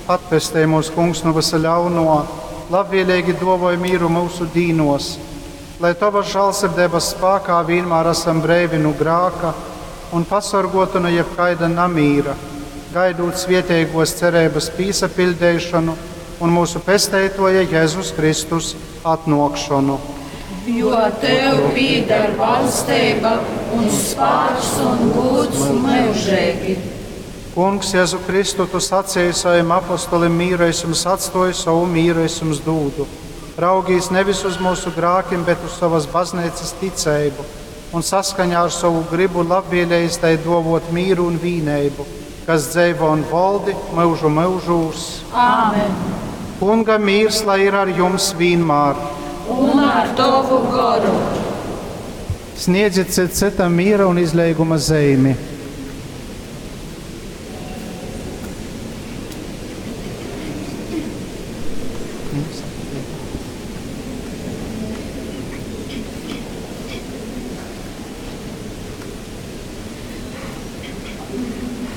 Atpestej mūs, Kungs, nu vysa ļaunuo, labvieleigi duovoj mīru myusu dīnuos, lai Tovas žālsirdeibas spākā vīnmār asam breivi nu grāka un pasorguoti nu jebkaida namīra, gaidūt svieteiguos cereibys pīsapiļdeišonu un myusu Pesteituoja Jezus Kristus atnuokšonu. Jo Tev pīdar valsteiba un spāks un gūds myužeigi. Kungs, Jezu Kristu, Tu saceji sovim apostolim, mīru es jums atstoju, sovu mīru es jums dūdu. Raugīs nevis uz myusu grākim, bet uz sovas bazneicas ticeibu, un saskaņā ar sovu grybu labvēlējis tai dovot mīru un vīneibu, kas dzeivo un voldi myužu myužūs. Āmen. Kunga mīrs lai ir ar jums vīnmār. Un ar Tovu goru. Sniedziet cits citam miera un izleiguma zeimi.